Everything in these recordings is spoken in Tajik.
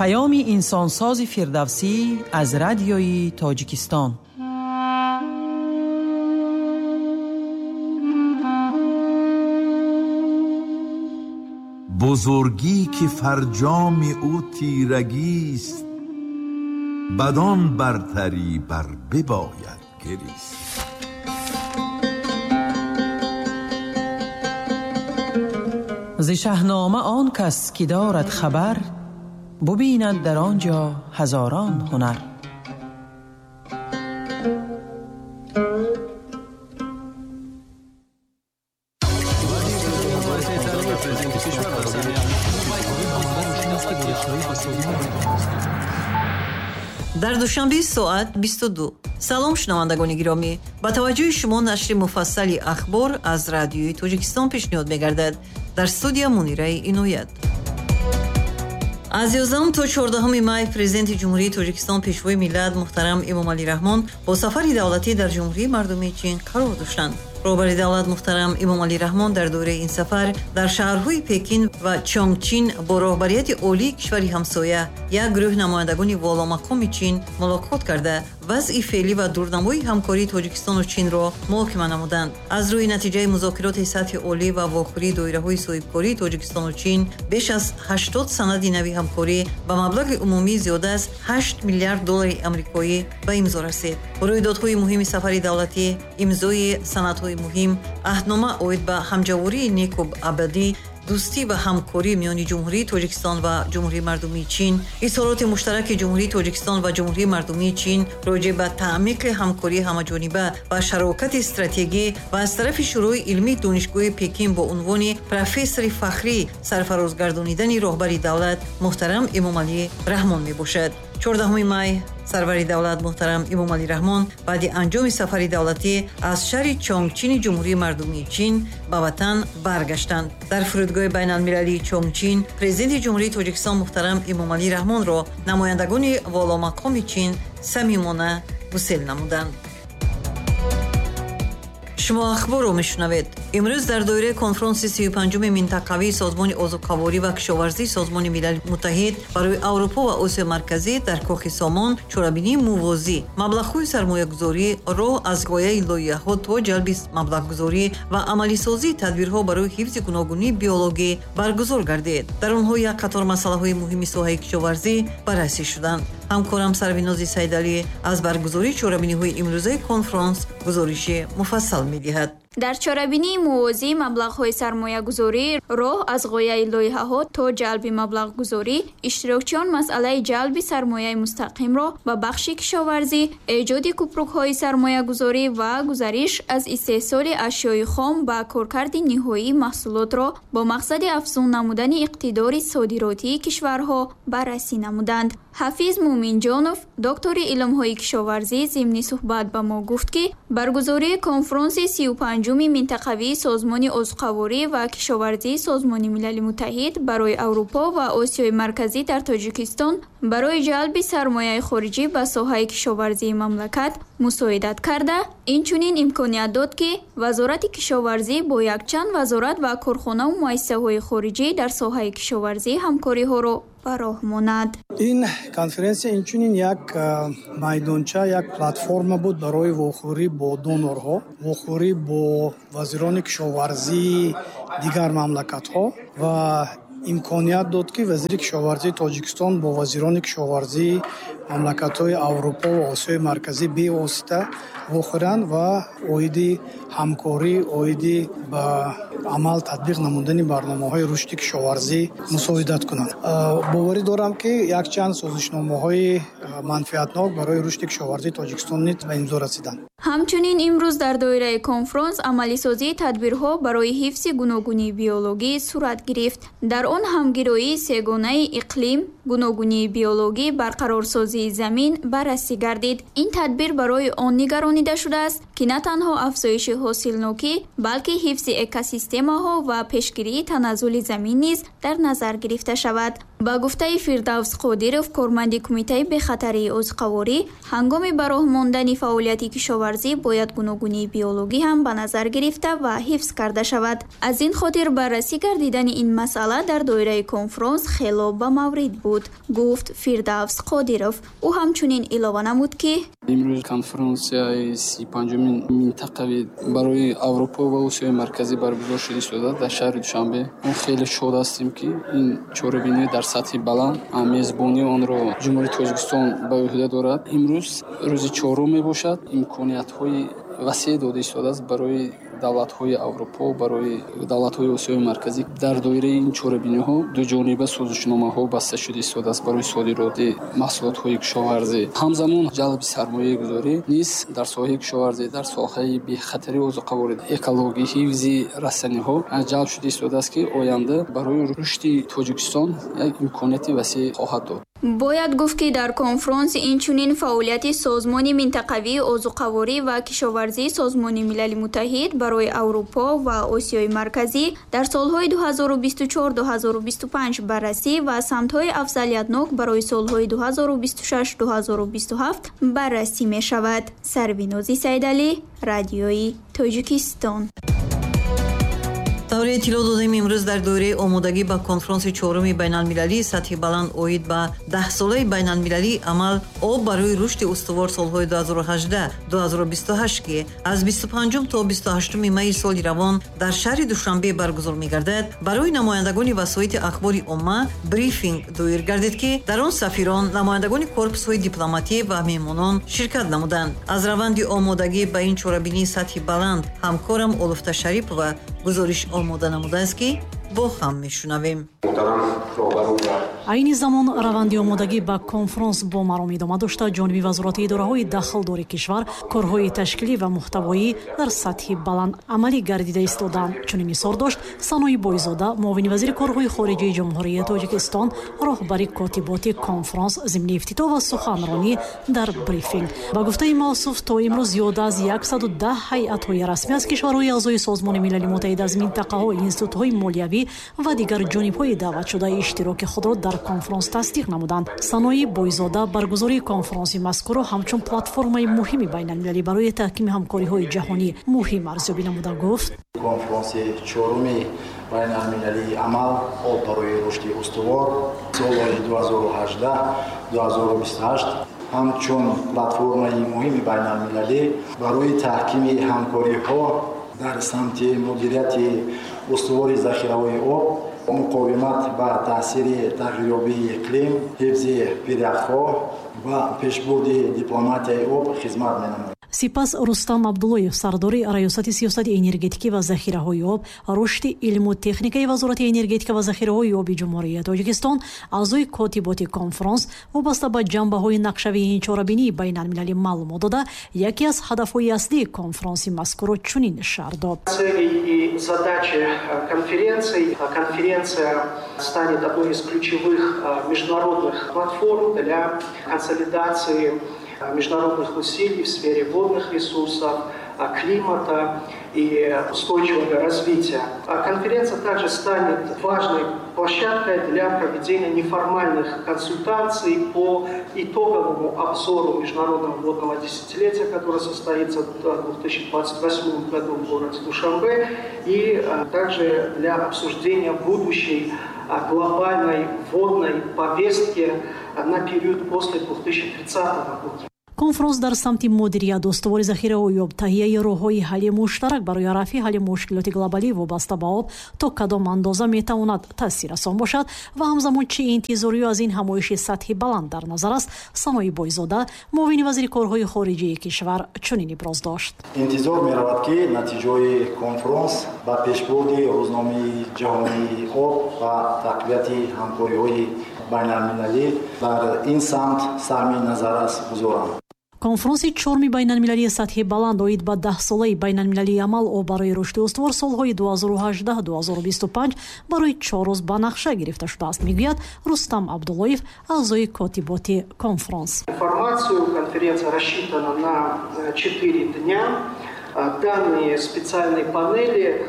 Паёми инсонсози Фирдавсӣ аз Радиои Тоҷикистон. Бузургӣ ки фарҷоми ӯ тирагист, бадон бартарӣ бар бибояд гирист. Зи Шаҳнома он кас ки дорад хабар, бубинад дар он ҷо ҳазорон ҳунар. Дар Душанбе соат 22. Салом, шунавандагони гиромӣ. Ба таваҷҷӯҳи шумо нашри муфассали ахбор аз Радиои Тоҷикистон пешниҳод мегардад. Дар студия Мунираи Иноят. Аз 11 то 14 май Президенти Ҷумҳурии Тоҷикистон, Пешвои миллат муҳтарам Эмомалӣ Раҳмон бо сафари давлатӣ дар Ҷумҳурии Мардумии Чин қарор доштанд. Роҳбари давлат муҳтарам Эмомалӣ Раҳмон дар доираи ин сафар дар шаҳрҳои Пекин ва Чонгчин бо роҳбарияти олии кишвари ҳамсоя, як гурӯҳ намояндагони воломақоми Чин мулоқот карда, вазъи феълӣ ва дурнамои ҳамкории Тоҷикистону Чинро муҳокима намуданд. Аз рӯи натиҷаи музокироти сатҳи олӣ ва вохӯрии доираҳои соҳибкории Тоҷикистону Чин беш аз 80 санади нави ҳамкорӣ ба маблағи умумӣ зиёда аз 8 миллиард доллари амрикоӣ ба имзо расид. Рӯйдодҳои муҳими сафари давлатӣ, имзои санадҳои муҳим, аҳднома оид ба ҳамҷавории неку абадӣ, дӯстӣ ва ҳамкорӣ миёни Ҷумҳурии Тоҷикистон ва Ҷумҳурии Мардумии Чин, изҳороти муштараки Ҷумҳурии Тоҷикистон ва Ҷумҳурии Мардумии Чин роҷеъ ба таъмиқи ҳамкории ҳамаҷониба ва шарокати стратегӣ ва аз тарафи Шӯрои илмии Донишгоҳи Пекин бо унвони профессори фахрӣ сарфарозгардонидани роҳбари давлат муҳтарам Эмомалӣ Раҳмон мебошад. 14 май сарвари давлат муҳтарам Эмомалӣ Раҳмон баъди анҷоми сафари давлатӣ аз шаҳри Чонгчини Ҷумҳурии Мардумии Чин ба ватан баргаштанд. Дар фурудгоҳи байналмилалии Чонгчин Президенти Ҷумҳурии Тоҷикистон муҳтарам Эмомалӣ Раҳмонро намояндагони воломақоми Чин самимона гусел намуданд. Шумо ахборро мешунавед. Имрӯз дар доираи конфронси 35-уми минтақавии Созмони озуқаворӣ ва кишоварзии Созмони Милали Муттаҳид барои Аврупо ва Осиёи Марказӣ дар Кохи Сомон чорабинии мувозӣ, маблағҳои сармоягузорӣ, роҳ аз ғояи лоиҳаҳо то ҷалби маблағгузорӣ ва амалисозии тадбирҳо барои ҳифзи гуногунии биологӣ баргузор гардид. Дар онҳо як қатор масъалаҳои муҳими соҳаи кишоварзӣ баррасӣ шуданд. Ҳамкорам Сарвинози Сайдалӣ аз баргузории чорабиниҳои имрӯзаи конфронс гузориши муфассал медиҳад. Дар чорабинии мувозӣ маблағҳои сармоягузорӣ, роҳ аз ғояи лоиҳаҳо то ҷалби маблағгузорӣ, иштирокчиён масъалаи ҷалби сармояи мустақимро ба бахши кишоварзӣ, эҷоди купрукҳои сармоягузорӣ ва гузариш аз истеҳсоли ашёи хом ба коркарди ниҳоии маҳсулотро бо мақсади афзун намудани иқтидори содиротии кишварҳо баррасӣ намуданд. Ҳафиз Муминҷонов, доктори илмҳои кишоварзӣ, зимни суҳбат ба мо гуфт, ки баргузории конфронси 35-уми минтақавии Созмони озуқаворӣ ва кишоварзии Созмони Милали Муттаҳид барои Аврупо ва Осиёи Марказӣ дар Тоҷикистон барои ҷалби сармояи хориҷӣ ба соҳаи кишоварзии мамлакат мусоидат карда, инчунин имконият дод, ки Вазорати кишоварзӣ бо якчанд вазорат ва корхонаву муассисаҳои хориҷӣ дар соҳаи кишоварзӣ ҳамкориҳоро ба роҳ монад. Ин конференсия инчунин як майдонча, як платформа буд барои вохӯрӣ бо донорҳо, вохӯрӣ бо вазирони кишоварзии дигар мамлакатҳо ва имконият дод, ки вазири кишоварзии Тоҷикистон бо вазирони кишоварзии мамлакатҳои Аврупо ва Осиёи Марказӣ бевосита вохӯранд ва оиди ҳамкорӣ, оиди ба амал татбиқ намудани барномаҳои рушди кишоварзӣ мусоидат кунанд. Боварӣ дорам, ки якчанд созишномаҳои манфиатнок барои рушди кишоварзии Тоҷикистон низ ба имзо расиданд. Ҳамчунин имрӯз дар доираи конфронс амалисозии тадбирҳо барои ҳифзи гуногунии биологӣ сурат гирифт. Дар он ҳамгироии сегонаи иқлим, гуногунии биологӣ, барқарорсозии замин баррасӣ гардид. Ин тадбир барои он нигаронида шудааст, ки на танҳо афзоиши ҳосилнокӣ, балки ҳифзи экосистемаҳо ва пешгирии таназзули замин низ дар назар гирифта шавад. Ба гуфтаи Фирдавс Қодиров, корманди Кумитаи бехатарии озуқаворӣ, ҳангоми ба роҳ мондани фаъолияти кишоварзӣ Кишоварзӣ бояд гуногунии биологӣ ҳам ба назар гирифта ва ҳифз карда шавад. Аз ин хотир баррасӣ гардидани ин масъала дар доираи конфронс хело ба маврид буд, гуфт Фирдавс Қодиров. Ӯ ҳамчунин илова намуд, ки имрӯз конфронсияи 35-умин минтақавӣ барои Аврупо ва Осиёи Марказӣ баргузор шуда истодааст дар шаҳри Душанбе. Мо хеле шод ҳастем, ки ин чорабинӣ дар сатҳи баланд мезбонии онро Ҷумҳурии Тоҷикистон ба ӯҳда дорад. Имрӯз рӯзи чорум мебошад. Имкониятҳои васеъ дода истодааст барои давлатҳои Аврупо, барои давлатҳои Осиёи Марказӣ. Дар доираи ин чорабиниҳо дуҷониба созишномаҳо баста шуда истодааст барои содироти маҳсулотҳои кишоварзӣ. Ҳамзамон ҷалби сармоягузорӣ низ дар соҳаи кишоварзӣ, дар соҳаи бехатарии озуқаворӣ, экологӣ, ҳифзи растаниҳо ҷалб шуда истодааст, ки оянда барои рушди Тоҷикистон як имконияти васеъ хоҳад дод. Бояд гуфт, ки дар конфронс инчунин фаъолияти Созмони минтақавии озуқаворӣ ва кишоварзии Созмони Милали Муттаҳид барои Аврупо ва Осиёи Марказӣ дар солҳои 2024-2025 баррасӣ ва самтҳои афзалиятнок барои солҳои 2026-2027 баррасӣ мешавад. Сарвинози Саидалӣ, Радиои Тоҷикистон. Тавре иттилоъ додем, имрӯз дар доираи омодагӣ ба конфронси чоруми байналмилалии сатҳи баланд оид ба 10-солаи байналмилалии амал «Об барои рушди устувор» солҳои 2018-2028, ки аз 25 то 28 майи соли равон дар шаҳри Душанбе баргузор мегардад, барои намояндагони васоити ахбори омма брифинг доир гардид, ки дар он сафирон, намояндагони корпусҳои дипломатӣ ва меҳмонон ширкат намуданд. Аз раванди омодагӣ ба ин чорабинии сатҳи баланд ҳамкорам Олуфта Шарипова гузориш омода намудааст, ки бо ҳам мешунавем. Айни замон раванди омодагӣ ба конфронс бо маром идома дошта, ҷониби вазорати идораҳои дахлдори кишвар корҳои ташкилӣ ва муҳтавоӣ дар сатҳи баланд амалӣ гардида истодаанд. Чунин изҳор дошт Санои Бойзода, муовини вазири корҳои хориҷии Ҷумҳурии Тоҷикистон, роҳбари котиботи конфронс, зимни ифтитоҳ ва суханронӣ дар брифинг. Ба гуфтаи мавсуф, то имрӯз зиёда аз 110 ҳайатҳои расмӣ аз кишварҳои аъзои Созмони Милали Муттаҳид, аз минтақаҳо, институтҳои молиявӣ ва дигар ҷонибҳои даъватшуда иштироки худро дар конфронс тасдиқ намуданд. Санои Бойзода баргузории конфронси мазкурро ҳамчун платформаи муҳими байналмилалӣ барои таҳкими ҳамкориҳои ҷаҳонӣ муҳим арзёбӣ намуда гуфт: Конфронси чоруми байналмилалии амал «Об барои рушди устувор» солҳои 2018-2028 ҳамчун платформаи муҳими байналмилалӣ барои таҳкими ҳамкориҳо дар самти мудирияти устувори захираҳои об, муқовимат ба таъсири тағйирёбии иқлим, ҳифзи пиряхҳо ва пешбурди дипломатияи об хизмат менамояд. Сипас Рустам Абдуллоев, сардори Раёсати сиёсати энергетикӣ ва захираҳои об, рушди илму техникаи Вазорати энергетика ва захираҳои оби Ҷумҳурии Тоҷикистон, аъзои котиботи конфронс, вобаста ба ҷанбаҳои нақшавии ин чорабинии байналмилалӣ маълумот дода, яке аз ҳадафҳои аслии конфронси мазкурро чунин шарҳ дод: Цели и задачи конференции. Конференция станет одной из ключевых международных платформ для консолидации международных усилий в сфере водных ресурсов, климата и устойчивого развития. Конференция также станет важной площадкой для проведения неформальных консультаций по итоговому обзору международного водного десятилетия, которое состоится в 2028 году в городе Душанбе, и также для обсуждения будущей глобальной водной повестки на период после 2030 года. Конфронс дар самти мудирият устувори захираҳои об, таҳияи роҳҳои ҳалли муштарак барои рафъи ҳалли мушкилоти глобалӣ вобаста ба об то кадом андоза метавонад таъсиррасон бошад ва ҳамзамон чӣ интизориё аз ин ҳамоиши сатҳи баланд дар назар аст, Санои Бойзода, муовини вазири корҳои хориҷии кишвар, чунин иброз дошт: Интизор меравад, ки натиҷаҳои конфронс ба пешбурди рӯзномаи ҷаҳонии об ва тақвияти ҳамкориҳои байналмилалӣ дар ин самт саҳми назаррас гузоранд. Конфронси чоруми байналмилалии сатҳи баланд оид ба 10-солаи байналмилалии амал «Об барои рушди устувор» солҳои 2018-2025 барои 4 рӯз ба нақша гирифта шудааст, мегӯяд Рустам Абдуллоев, аъзои котиботи конфронс. Информацию конференция рассчитана на 4 дня. Данные специальной панели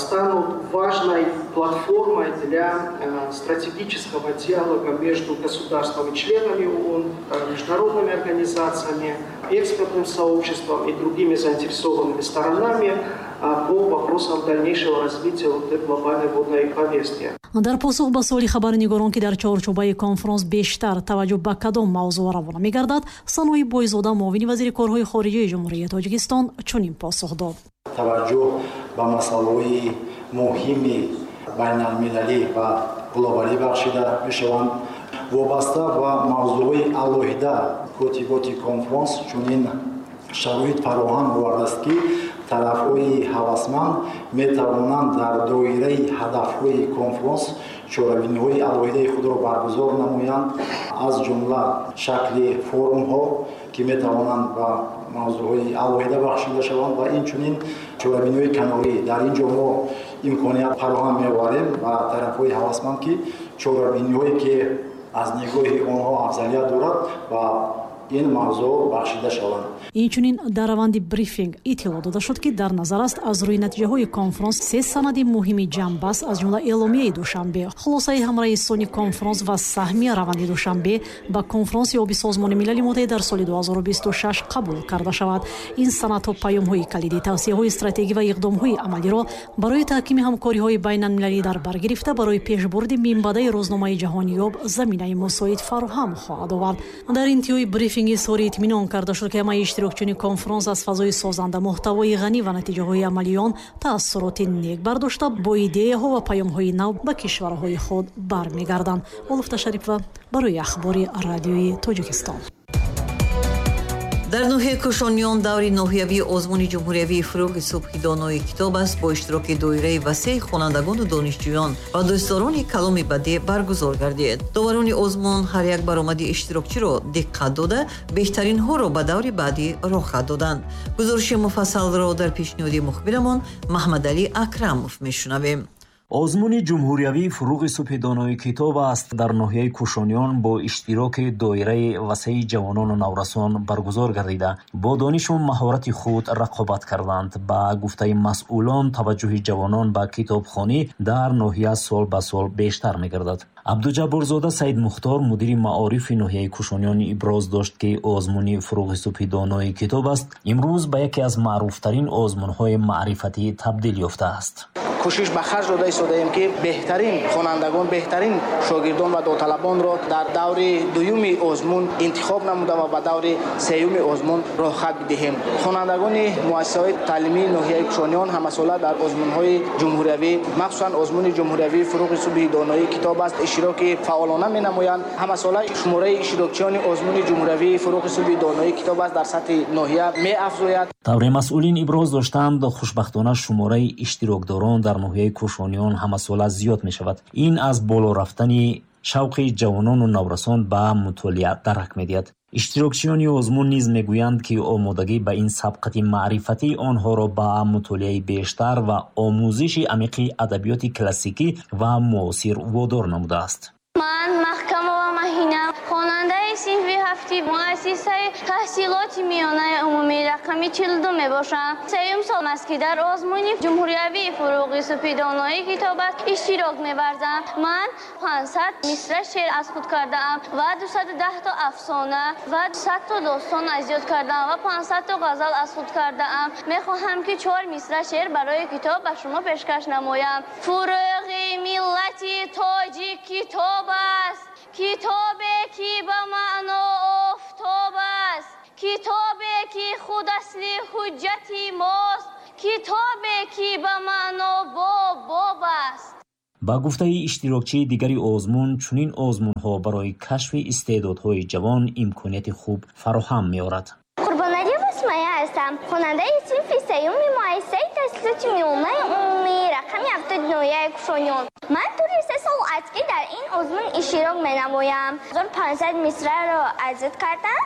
станут важной платформой для стратегического диалога между государствами-членами ООН, международными организациями, экспертным сообществом и другими заинтересованными сторонами по вопросам дальнейшего развития глобальной водной повестки. Дар посух ба суоли хабарнигорон, ки дар чорчӯбаи конфронс бештар таваҷҷӯҳ ба кадом мавзӯъ равона мегардад, Санои Бойзода, муовини вазири корҳои хориҷаи Ҷумҳурии Тоҷикистон, чунин посух дод. Таваҷҷӯҳ ба масъалаҳои муҳими байналмилалӣ ва глобалӣ бахшида мешаванд. Вобаста ба мавзӯъҳои алоҳида котиботи конфронс чунин шароит фароҳам овардааст, ки тарафҳои ҳавасманд метавонанд дар доираи ҳадафҳои конфронс чорабиниҳои алоҳидаи худро баргузор намоянд, аз ҷумла шакли форумҳо, ки метавонанд ба мавзӯъҳои алоҳида бахшида шаванд, ва инчунин чорабиниҳои канорӣ. Дар ин ҷо мо имконият фароҳам меоварем ба тарафҳои ҳавасманд, ки чорабиниҳое, ки аз нигоҳи онҳо афзалият дорад, ба ин мавзӯъ бахшида шаванд. Инчунин дар раванди брифинг иттилоъ дода шуд, ки дар назар аст аз рӯи натиҷаҳои конфронс се санади муҳими ҷамъбаст, аз ҷумла эъломияи Душанбе, хулосаи ҳамраисони конфронс ва саҳми раванди Душанбе ба конфронси оби Созмони Милали Муттаҳид дар соли 2026 қабул карда шавад. Ин санадҳо паёмҳои калидӣ, тавсияҳои стратегӣ ва иқдомҳои амалиро барои таҳкими ҳамкориҳои байналмилалӣ дар бар гирифта, барои пешбурди минбаъдаи рӯзномаи ҷаҳонии об заминаи мусоид фароҳам хоҳад овард. Дар интиҳои брифинг изҳори итминон карда шуд, ки ҳамаи иштирокчиёни конфронс аз фазои созанда, муҳтавои ғанӣ ва натиҷаҳои амалии он таассуроти нек бардошта, бо идеяҳо ва паёмҳои нав ба кишварҳои худ бармегарданд. Олуфта Шарипова барои Ахбори Радиои Тоҷикистон. Дар ноҳияи Кӯшониён даври ноҳиявии озмуни ҷумҳуриявии «Фурӯғи субҳи донои китоб аст» бо иштироки доираи васеи хонандагону донишҷӯён ва дӯстдорони каломи бадеъ баргузор гардид. Доварони озмун ҳар як баромади иштирокчиро диққат дода, беҳтаринҳоро ба даври баъдӣ роҳхат доданд. Гузориши муфассалро дар пешниҳоди мухбирамон Маҳмадалӣ Акрамов мешунавем. Озмуни ҷумҳуриявии «Фурӯғи субҳи донои китоб аст» дар ноҳияи Кӯшониён бо иштироки доираи васеи ҷавонону наврасон баргузор гардида, бо донишу маҳорати худ рақобат карданд. Ба гуфтаи масъулон, таваҷҷӯҳи ҷавонон ба китобхонӣ дар ноҳия сол ба сол бештар мегардад. Абдуҷабборзода Саидмухтор, мудири маорифи ноҳияи Кӯшониён, иброз дошт, ки озмуни «Фурӯғи субҳи донои китоб аст» имрӯз ба яке аз маъруфтарин озмунҳои маърифатӣ табдил ёфтааст. Кӯшиш ба харҷ дода истодаем, ки беҳтарин хонандагон, беҳтарин шогирдон ва довталабонро дар даври дуюми озмун интихоб намуда ва ба даври сеюми озмун роҳхат бидиҳем. Хонандагони муассисаҳои таълимии ноҳияи Кӯшониён ҳамасола дар озмунҳои ҷумҳуриявӣ, махсусан озмуни ҷумҳуриявии «Фурӯғи субҳи доноии китоб аст», иштироки фаъолона менамоянд. Ҳамасола шумораи иштирокчиёни озмуни ҷумҳуриявии «Фурӯғи субҳи доноии китоб аст» дар сатҳи ноҳия меафзояд. Тавре масъулин иброз доштанд, хушбахтона шумораи иштирокдорон дар ноҳияи Кӯшониён ҳамасола зиёд мешавад. Ин аз боло рафтани шавқи ҷавонону наврасон ба мутолиа дарак медиҳад. Иштирокчиёни озмун низ мегӯянд, ки омодагӣ ба ин сабқати маърифатӣ онҳоро ба мутолиаи бештар ва омӯзиши амиқи адабиёти классикӣ ва муосир водор намудааст. Ман Маҳкамова Маҳина, хонандаи синфи ҳафти муассисаи таҳсилоти миёнаи умумии рақами 42 мебошам. Сеюм сол аст, ки дар озмуни ҷумҳуриявии «Фурӯғи субҳи доноии китоб аст» иштирок меварзам. Ман 500 мисра шеър аз худ кардаам ва 210 то афсона ва 100 то достон аз ёд кардаам ва 500 то ғазал аз худ кардаам. Мехоҳам, ки чор мисра шеър барои китоб ба шумо пешкаш намоям. Фурӯғи миллати тоҷик китоб аст, китобе, ки ба маъно офтоб аст, китобе, ки худ асли ҳуҷҷати мост, китобе, ки ба маъно боб боб аст. Ба гуфтаи иштирокчии дигари озмун, чунин озмунҳо барои кашфи истеъдодҳои ҷавон имконияти хуб фароҳам меорад. Қурбоналиева Сумая ҳастам, хонандаи синфи сеюми муассисаи таҳсилоти миёнаи умумии рақами 70 ноҳияи Кӯшониён. Ман тӯли 3 сол аст, ки дар ин озмун иштирок менамоям. 1500 мисраро аз ёд кардам.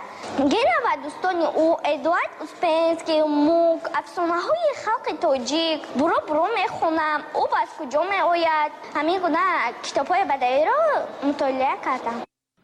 Гена ва дӯстони ӯ, Эдуард Успенский, Мук, афсонаҳои халқи тоҷик буро буро мехонам. Об аз куҷо меояд, ҳамин гуна китобҳои бадаиро мутолиа кардам.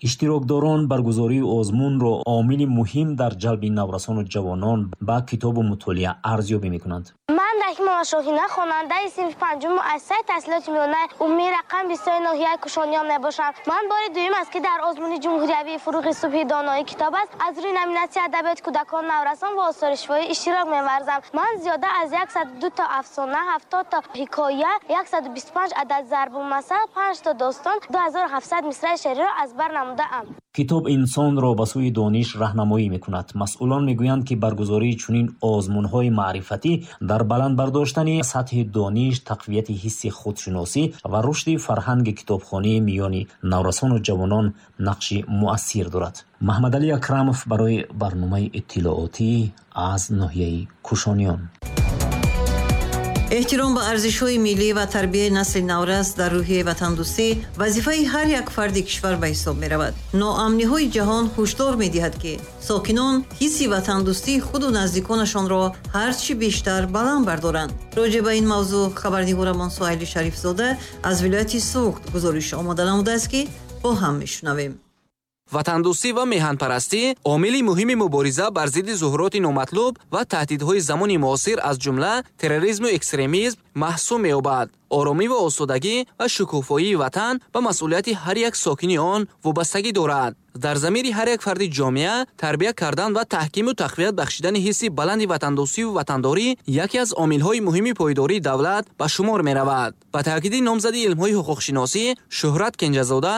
Иштирокдорон баргузории озмунро омили муҳим дар ҷалби наврасону ҷавонон ба китобу мутолиа арзёбӣ мекунанд. Ман Раҳимова Шоҳина, хонандаи синфи панҷум муассисаи таҳсилоти миёнаи умумии рақами 20 ноҳияи Кушониён мебошам. Ман бори дуюм аст, ки дар озмуни ҷумҳуриявии «Фурӯғи субҳи донои китоб» аст аз рӯи номинатсияи адабиёти кӯдакон, наврасон ва осори шифоҳӣ иштирок меварзам. Ман зиёда аз 102 то афсона, 70 то ҳикоя, 125 адад зарбулмасал, 5 то достон, 2700 мисраи шеъриро аз бар намудаам. Китоб инсонро ба сӯи дониш раҳнамоӣ мекунад. Масъулон мегӯянд, ки баргузории чунин озмунҳои маърифатӣ дар баланд бардоштани сатҳи дониш, тақвияти ҳисси худшиносӣ ва рушди фарҳанги китобхонӣ миёни наврасону ҷавонон нақши муассир дорад. Маҳмадалӣ Акрамов барои барномаи иттилоотӣ аз ноҳияи Кушониён. Эҳтиром ба арзишҳои миллӣ ва тарбияи насли наврас дар рӯҳияи ватандӯстӣ вазифаи ҳар як фарди кишвар ба ҳисоб меравад. Ноамниҳои ҷаҳон ҳушдор медиҳад, ки сокинон ҳисси ватандӯстии худу наздиконашонро ҳарчи бештар баланд бардоранд. Роҷеъ ба ин мавзӯъ хабарнигорамон Суҳайли Шарифзода аз вилояти Суғд гузориш омода намудааст, ки бо ҳам мешунавем. Ватандӯстӣ ва меҳанпарастӣ омили муҳими мубориза бар зидди зуҳуроти номатлуб ва таҳдидҳои замони муосир, аз ҷумла терроризму экстремизм маҳсуб меёбад. Оромӣ ва осудагӣ ва шукуфоии ватан ба масъулияти ҳар як сокини он вобастагӣ дорад. Дар замири ҳар як фарди ҷомеа тарбия кардан ва таҳкиму тақвият бахшидани ҳисси баланди ватандӯстиву ватандорӣ яке аз омилҳои муҳими пойдории давлат ба шумор меравад. Ба таъкиди номзади илмҳои ҳуқуқшиносӣ Шӯҳрат Кенҷазода,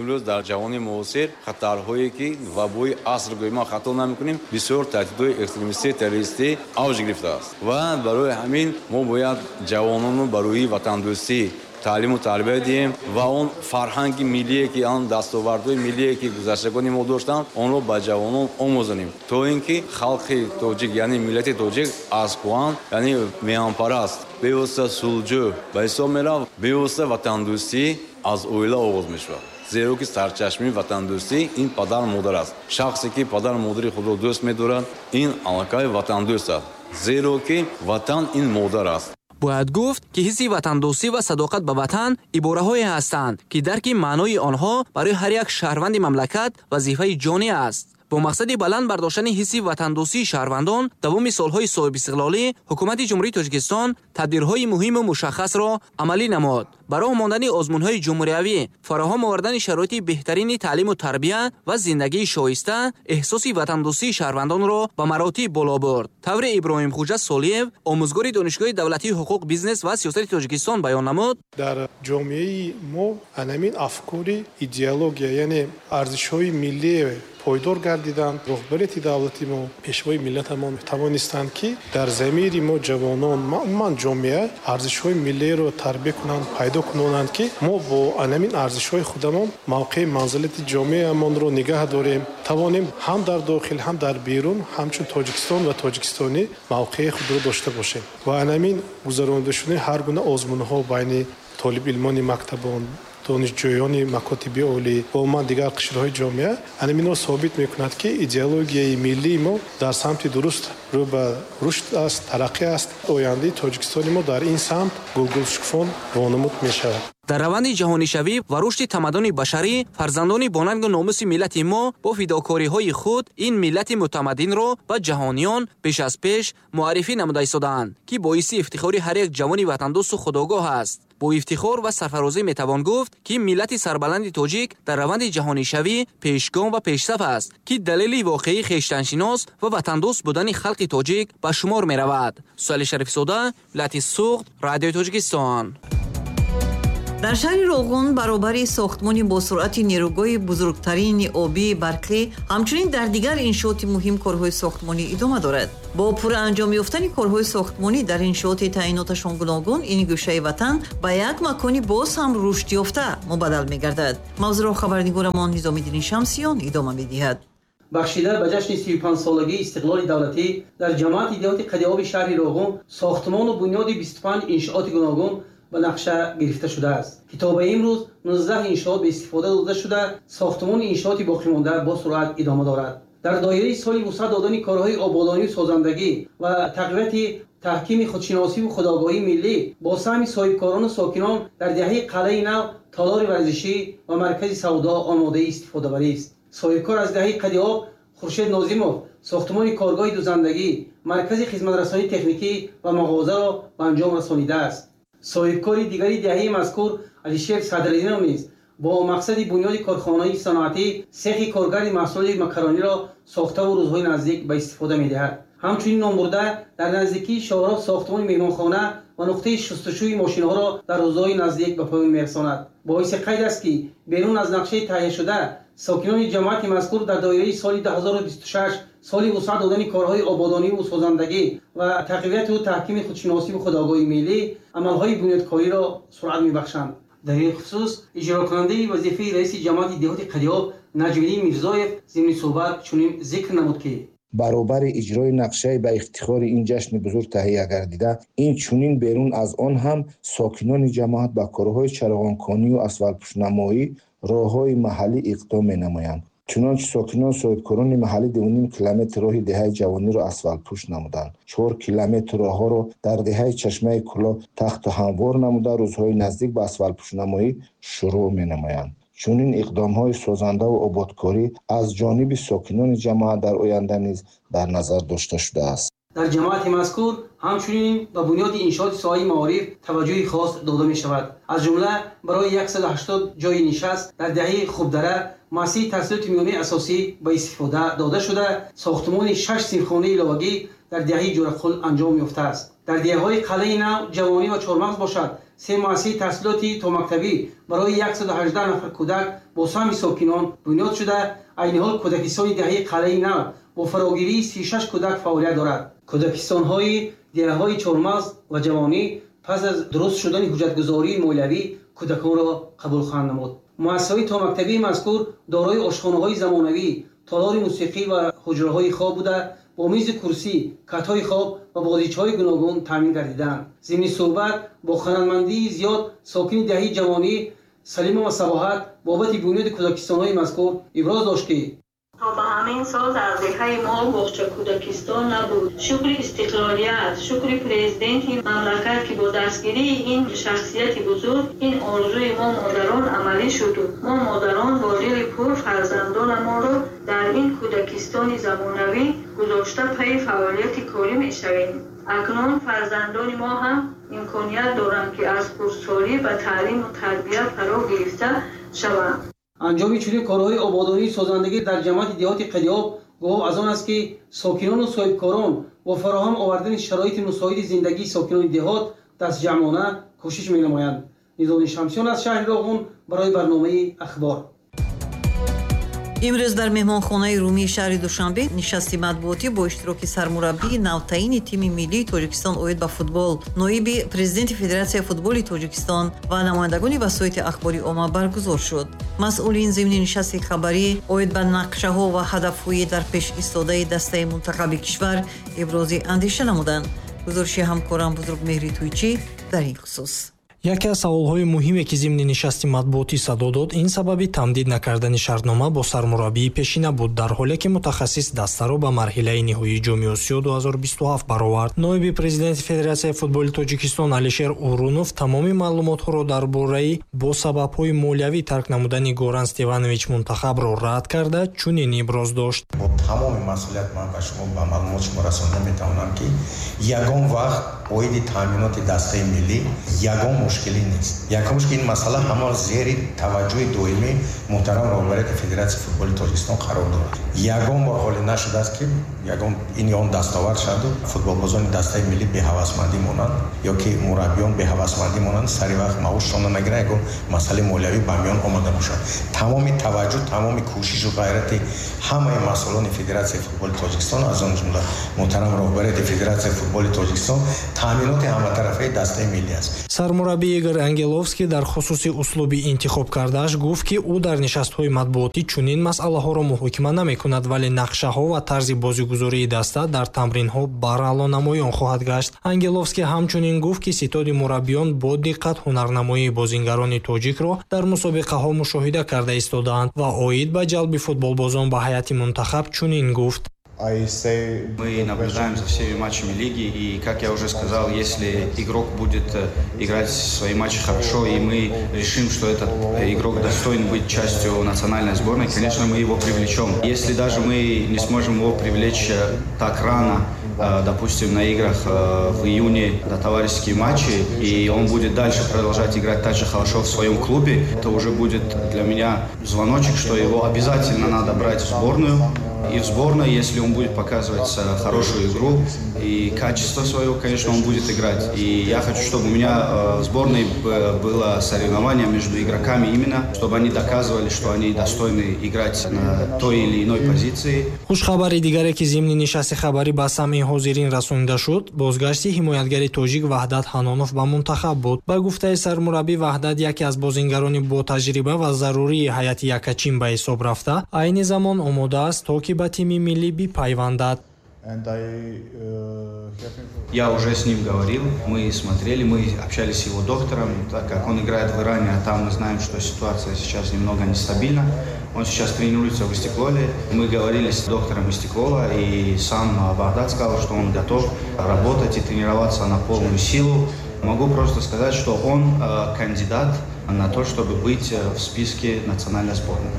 имрӯз дар ҷаҳони муосир хатарҳое, ки вабои аср гӯем, мо хато намекунем, бисёр таҳдидҳои экстремистӣ, террористӣ авҷ гирифтааст ва барои ҳамин мо бояд ҷавонону ба рӯҳи ватандӯстӣ таълиму тарбия диҳем ва он фарҳанги миллие, ки он дастовардҳои миллие, ки гузаштагони мо доштанд, онро ба ҷавонон омӯзонем, то ин ки халқи тоҷик, яъне миллати тоҷик, аз кӯҳан, яъне меҳанпараст, бевосита сулҳҷӯ ба ҳисоб меравад. Бевосита ватандӯстӣ аз оила оғоз мешавад, зеро ки сарчашмаи ватандӯстӣ ин падару модар аст. Шахсе, ки падару модари худро дӯст медорад, ин аллакай ватандӯст аст, зеро ки ватан ин модар аст. Бояд гуфт, ки ҳисси ватандӯстӣ ва садоқат ба ватан ибораҳое ҳастанд, ки дарки маънои онҳо барои ҳар як шаҳрванди мамлакат вазифаи ҷонӣ аст. Бо мақсади баланд бардоштани ҳисси ватандӯстии шаҳрвандон давоми солҳои соҳибистиқлолӣ Ҳукумати Ҷумҳурии Тоҷикистон тадбирҳои муҳиму мушаххасро амалӣ намуд. Ба роҳ мондани озмунҳои ҷумҳуриявӣ, фароҳам овардани шароити беҳтарини таълиму тарбия ва зиндагии шоиста эҳсоси ватандӯстии шаҳрвандонро ба маротиб боло бурд. Тавре Иброҳимхуҷа Солиев, омӯзгори Донишгоҳи давлатии ҳуқуқ, бизнес ва сиёсати Тоҷикистон, баён намуд: дар ҷомеаи мо анамин афкори идеология, яъне арзишҳои миллие пойдор гардиданд. Роҳбарияти давлати мо, пешвои миллатамон тавонистанд, ки дар замири мо, ҷавонон, умуман ҷомеа, арзишҳои миллиеро тарбия кунанд, пайдо кунонанд, ки мо бо анамин арзишҳои худамон мавқеи манзилати ҷомеамонро нигаҳ дорем, тавонем ҳам дар дохил, ҳам дар берун ҳамчун Тоҷикистон ва тоҷикистонӣ мавқеи худро дошта бошем. Ва анамин гузаронида шудани ҳар гуна озмунҳо байни толибилмони мактабон, донишҷӯёни макотиби олӣ ва умуман дигар қишрҳои ҷомеа анаминро собит мекунад, ки идеологияи миллии мо дар самти дуруст рӯ ба рушд аст, тараққӣ аст. Ояндаи Тоҷикистони мо дар ин самт гулгулшукуфон вонамуд мешавад. Дар раванди ҷаҳонишавӣ ва рушди тамаддуни башарӣ фарзандони бонангу номуси миллати мо бо фидокориҳои худ ин миллати мутамаддинро ба ҷаҳониён беш аз пеш муаррифӣ намуда истодаанд, ки боиси ифтихори ҳар як ҷавони ватандӯсту худогоҳ аст. Бо ифтихор ва сарфарозӣ метавон гуфт, ки миллати сарбаланди тоҷик дар раванди ҷаҳонишавӣ пешгом ва пешсаф аст, ки далели воқеии хештаншинос ва ватандӯст будани халқи тоҷик ба шумор меравад. Суҳайли Шарифзода, вилояти Суғд, Радиои Тоҷикистон. Дар шаҳри Роғун баробари сохтмони босуръати нерӯгоҳи бузургтарини обии барқӣ, ҳамчунин дар дигар иншооти муҳим корҳои сохтмонӣ идома дорад. Бо пурра анҷом ёфтани корҳои сохтмонӣ дар иншооти таъиноташон гуногун, ин гӯшаи ватан ба як макони боз ҳам рушдёфта мубаддал мегардад. Мавзӯъро хабарнигорамон Низомиддини Шамсиён идома медиҳад. Бахшида ба ҷашни 35-солагии истиқлоли давлатӣ дар ҷамоати деҳоти Қадиоби шаҳри Роғун сохтмону бунёди 25 иншооти гуногун ба нақша гирифта шудааст, ки то ба имрӯз 19 иншоот ба истифода дода шуда, сохтмони иншооти боқимонда бо суръат идома дорад. Дар доираи соли вусъат додани корҳои ободонию созандагӣ ва тақвияти таҳкими худшиносиву худогоҳии миллӣ бо саҳми соҳибкорону сокинон дар деҳаи Қалъаи Нав толори варзишӣ ва маркази савдо омодаи истифодабарӣ аст. Соҳибкор аз деҳаи Қадиоб Хуршед Нозимов сохтмони коргоҳи дузандагӣ, маркази хизматрасонии техникӣ ва мағозаро ба анҷом расонидааст. Соҳибкори дигари деҳаи мазкур Алишер Садриддинов низ бо мақсади бунёди корхонаи саноатӣ сехи коргари маҳсулоти макарониро сохтаву рӯзҳои наздик ба истифода медиҳад. Ҳамчунин номбурда дар наздикии шоҳроҳ сохтмони меҳмонхона ва нуқтаи шустушӯи мошинҳоро дар рӯзҳои наздик ба поён мерасонад. Боиси қайд аст, ки берун аз нақшаи таҳияшуда сокинони ҷамоати мазкур дар доираи соли 2026 соли вусъат додани корҳои ободониву созандагӣ ва тақвияту таҳкими худшиносиву худогоҳии миллӣ амалҳои бунёдкориро суръат мебахшанд. Дар ин хусус иҷрокунандаи вазифаи раиси ҷамоати деҳоти Қадиоб Наҷмиддин Мирзоев зимни суҳбат чунин зикр намуд, ки баробари иҷрои нақшаи ба ифтихори ин ҷашни бузург таҳия гардида, инчунин берун аз он ҳам сокинони ҷамоат ба корҳои чароғонконию асфалтпӯшнамоӣ роҳҳои маҳаллӣ иқдом менамоянд. Чунончи сокинон соҳибкорони маҳаллӣ 2,5 километр роҳи деҳаи Ҷавониро асфалтпӯш намуданд. 4 километр роҳҳоро дар деҳаи Чашмаи Кӯлоб тахту ҳамвор намуда, рӯзҳои наздик ба асфалтпӯшнамоӣ шурӯъ менамоянд. Чунин иқдомҳои созандаву ободкорӣ аз ҷониби сокинони ҷамоат дар оянда низ дар назар дошта шудааст. Дар ҷамоати мазкур ҳамчунин ба бунёди иншооти соҳаи маориф таваҷҷӯҳи хос дода мешавад. Аз ҷумла барои 180 ҷойи нишаст дар деҳаи Хубдара муассисаи таҳсилоти миёнаи асосӣ ба истифода дода шуда, сохтмони 6 синфхонаи иловагӣ дар деҳаи Ҷӯрақул анҷом ёфтааст. Дар деҳаҳои Қалъаи Нав, Ҷавонӣ ва Чормағз бошад, се муассисаи таҳсилоти томактабӣ барои 118 нафар кӯдак бо саҳми сокинон бунёд шуда, айни ҳол кӯдакистони деҳаи Қалъаи Нав бо фарогирии 36 кӯдак фаъолият дорад. Кӯдакистонҳои деҳаҳои Чормағз ва Ҷавонӣ пас аз дуруст шудани ҳуҷҷатгузории молиявӣ кӯдаконро қабул хоҳанд намуд. Муассисаҳои томактабии мазкур дорои ошхонаҳои замонавӣ, толори мусиқӣ ва ҳуҷраҳои хоб буда, бо мизи курсӣ, катҳои хоб ва бозичаҳои гуногун таъмин гардидаанд. Зимни суҳбат бо хунармандии зиёд сокини деҳаи Ҷавонӣ Салимова Сабоҳат бобати бунёди кӯдакистонҳои мазкур иброз дошт, ки то ба ҳамин сол дар деҳаи мо боғча кӯдакистон набуд. Шукри истиқлолият, шукри президенти мамлакат, ки бо дастгирии ин шахсияти бузург ин орзуи мо модарон амалӣ шуд. Мо модарон бо дили пур фарзандонамонро дар ин кӯдакистони замонавӣ гузошта пайи фаъолияти корӣ мешавем. Акнун фарзандони мо ҳам имконият доранд, ки аз хурдсолӣ ба таълиму тарбия фаро гирифта шаванд. Анҷоми чунин корҳои ободонии созандагӣ дар ҷамоати деҳоти Қадиоб гувоҳ аз он аст, ки сокинону соҳибкорон бо фароҳам овардани шароити мусоиди зиндагии сокинони деҳот дастҷамъона кӯшиш менамоянд. Низомиддин Шамсиён аз шаҳри Роғун барои барномаи Ахбор. Имрӯз дар меҳмонхонаи Румии шаҳри Душанбе нишасти матбуотӣ бо иштироки сармураббии навтаини тими миллии Тоҷикистон оид ба футбол, ноиби президенти Федератсияи футболи Тоҷикистон ва намояндагони васоити ахбори омма баргузор шуд. Масъулин зимни нишасти хабарӣ оид ба нақшаҳо ва ҳадафҳои дар пеш истодаи дастаи мунтахаби кишвар ибрози андеша намуданд. Гузориши ҳамкорам Бузургмеҳри Туйчӣ дар ин хусус. Яке аз саволҳои муҳиме, ки зимни нишасти матбуотӣ садо дод, ин сабаби тамдид накардани шартнома бо сармураббии пешина буд, дар ҳоле ки мутахассис дастаро ба марҳилаи ниҳоии Ҷоми Осиё 2027 баровард. Ноиби президенти Федератсияи футболи Тоҷикистон Алишер Урунов тамоми маълумотҳоро дар бораи бо сабабҳои молиявӣ тарк намудани Горан Стеванович мунтахабро рад карда, чунин иброз дошт. Бо тамоми масъулият ман ба шумо ба маълумот шумо расонда метавонам, ки ягон вақт оиди таъминоти дастаи миллӣ ягон мушкилӣ нест. Якумш, ки ин масъала ҳама зери таваҷҷӯҳи доимии муҳтарам роҳбарияти Федератсияи футболи Тоҷикистон қарор дорад. Ягон бор ҳоле нашудааст, ки ягон ин ё он дастовард шаваду футболбозони дастаи миллӣ беҳавасмандӣ монанд ё ки мураббиён беҳавасмандӣ монанд, сари вақт маошшонро нагиранд, ягон масъалаи молиявӣ ба миён омада бошад. Тамоми таваҷҷӯҳ, тамоми кӯшишу ғайрати ҳамаи масъулони Федератсияи футболи Тоҷикистон, аз он ҷумла муҳтарам роҳбарияти Федератсияи футболи Тоҷикистон, таъминоти ҳаматарафаи дастаи миллӣ аст. Сармураббӣ Игор Ангеловский дар хусуси услуби интихоб кардааш гуфт, ки ӯ дар нишастҳои матбуотӣ чунин масъалаҳоро муҳокима намекунад, вале нақшаҳо ва тарзи бозигузории даста дар тамринҳо барало намоён хоҳад гашт. Ангеловский ҳамчунин гуфт, ки ситоди мураббиён бо диққат ҳунарнамоии бозингарони тоҷикро дар мусобиқаҳо мушоҳида карда истодаанд ва оид ба ҷалби футболбозон ба ҳайати мунтахаб чунин гуфт. Мы наблюдаем за всеми матчами лиги, и, как я уже сказал, если игрок будет играть свои матчи хорошо, и мы решим, что этот игрок достоин быть частью национальной сборной, конечно, мы его привлечем. Если даже мы не сможем его привлечь так рано, допустим, на играх в июне на товарищеские матчи, и он будет дальше продолжать играть так же хорошо в своем клубе, это уже будет для меня звоночек, что его обязательно надо брать в сборную. И в сборной, если он будет показывать хорошую игру и качество свое, конечно, он будет играть. И я хочу, чтобы у меня в сборной было соревнование между игроками именно, чтобы они доказывали, что они достойны играть на той или иной позиции. Хушхабари дигаре, ки зимни нишасти хабарӣ ба самъи ҳозирин расонида шуд, бозгашти ҳимоятгари тоҷик Ваҳдат Ҳанонов ба мунтахаб буд. Ба гуфтаи сармураббӣ, Ваҳдат яке аз бозингарони ботаҷриба ва зарурии ҳайати якачин ба ҳисоб рафта, айни замон омода аст, то ки ба тими миллӣ бипайвандад. Я уже с ним говорил, мы смотрели, мы общались с его доктором, так как он играет в Иране, а там мы знаем, что ситуация сейчас немного нестабильна. Он сейчас тренируется в Истиклоле. Мы говорили с доктором Истиклола, и сам Вахдат сказал, что он готов работать и тренироваться на полную силу. Могу просто сказать, что он кандидат на то, чтобы быть в списке национальной сборной.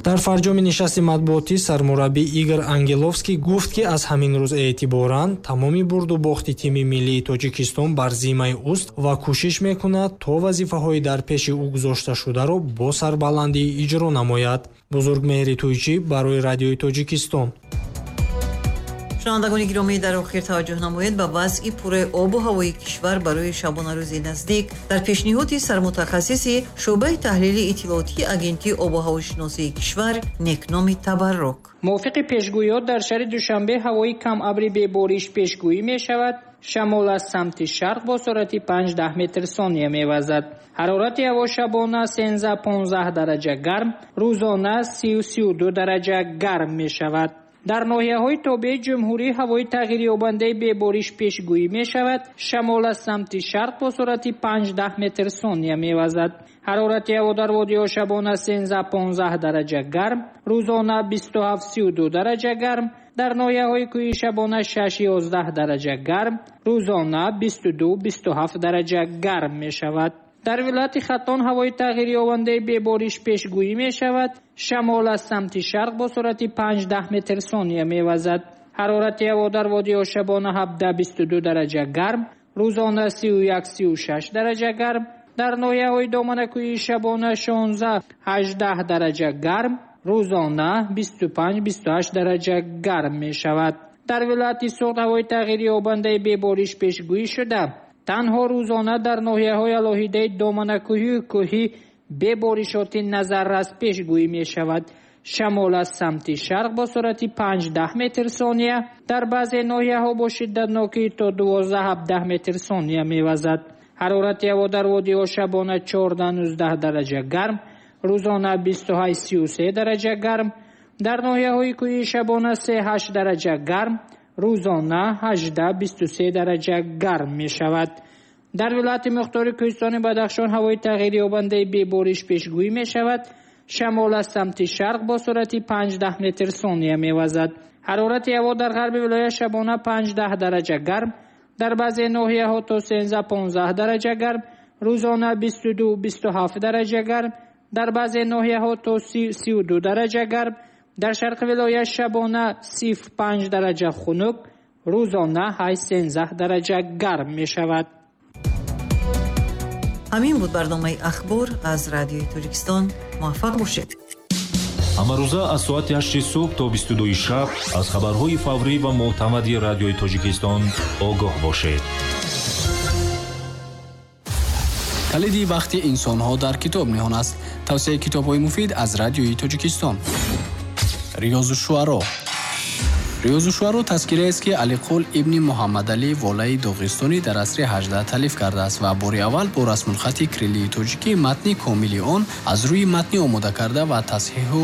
Дар фарҷоми нишасти матбуотӣ сармураббӣ Игор Ангеловский гуфт, ки аз ҳамин рӯз эътиборан тамоми бурду бохти тими миллии Тоҷикистон бар зиммаи ӯст ва кӯшиш мекунад, то вазифаҳои дар пеши ӯ гузошташударо бо сарбаландӣ иҷро намояд. Бузургмеҳри Тӯйчӣ барои Радиои Тоҷикистон. Шунавандагони гиромӣ, дар охир таваҷҷӯҳ намоед ба вазъи пурраи обу ҳавои кишвар барои шабонарӯзи наздик дар пешниҳоди сармутахассиси шӯъбаи таҳлили иттилоотии Агентии обу ҳавошиносии кишвар Некноми Табаррок. Мувофиқи пешгӯиҳо, дар шаҳри Душанбе ҳавои камабри бебориш пешгӯӣ мешавад. Шамол аз самти шарқ бо суръати 5-10 метр сония мевазад. Ҳарорати ҳаво шабона 13-15 дараҷа гарм, рӯзона 30-32 дараҷа гарм мешавад. Дар ноҳияҳои тобеи ҷумҳурӣ ҳавои тағйирёбандаи бебориш пешгӯӣ мешавад. Шамол аз самти шарқ бо суръати 5-10 метр сония мевазад. Ҳарорати ҳаво дар водиҳо шабона 13-15 дараҷа гарм, рӯзона 27-32 дараҷа гарм. Дар ноҳияҳои кӯҳӣ шабона 6-11 дараҷа гарм, рӯзона 22-27 дараҷа гарм мешавад. Дар вилояти Хатлон ҳавои тағйирёбандаи бебориш пешгӯӣ мешавад. Шамол аз самти шарқ бо суръати 5-10 метр сония мевазад. Ҳарорати ҳаво дар водиҳо шабона 17-22 дараҷа гарм, рӯзона 31-36 дараҷа гарм. Дар ноҳияҳои доманакӯҳии шабона 16-18 дараҷа гарм, рӯзона 25-28 дараҷа гарм мешавад. Дар вилояти Суғд ҳавои тағйирёбандаи бебориш пешгӯӣ шуда, танҳо рӯзона дар ноҳияҳои алоҳидаи доманакӯҳию кӯҳӣ беборишоти назаррас пешгӯӣ мешавад. Шамол аз самти шарқ бо суръати 5-10 метр сония, дар баъзе ноҳияҳо бо шиддатнокии то 12-17 метр сония мевазад. Ҳарорати ҳаво дар водиҳо шабона 14-19 дараҷа гарм, рӯзона 28-33 дараҷа гарм. Дар ноҳияҳои кӯҳии шабона 3-8 дараҷа гарм, рӯзона 18-23 дараҷа гарм мешавад. Дар вилояти мухтори кӯҳистони Бадахшон ҳавои тағйирёбандаи бебориш пешгӯӣ мешавад. Шамол аз самти шарқ бо суръати 5-10 метр сония мевазад. Ҳарорати ҳаво дар ғарби вилоят шабона 5-10 дараҷа гарм, дар баъзе ноҳияҳо то 13-15 дараҷа гарм, рӯзона 22-27 дараҷа гарм, дар баъзе ноҳияҳо то 30-32 дараҷа гарм. Дар шарқи вилоят шабона 0,5 дараҷа хунук, рӯзона 8-13 дараҷа гарм мешавад. Ҳамин буд барномаи «Ахбор» аз Радиои Тоҷикистон. Муваффақ бошед. Ҳамарӯза аз соати 8 субҳ то 22 шаб аз хабарҳои фаврӣ ва мӯътамади Радиои Тоҷикистон огоҳ бошед. Калиди бахти инсонҳо дар китоб ниҳон аст. Тавсияи китобҳои муфид аз Радиои Тоҷикистон. Риёзу шуаро. Риёзу шуаро тазкираест, ки Алиқул ибни Муҳаммадалӣ Волаи Доғистонӣ дар асри 18 таълиф кардааст ва бори аввал бо расмулхати кириллии тоҷикӣ матни комили он аз рӯи матни омода карда ва тасҳиҳу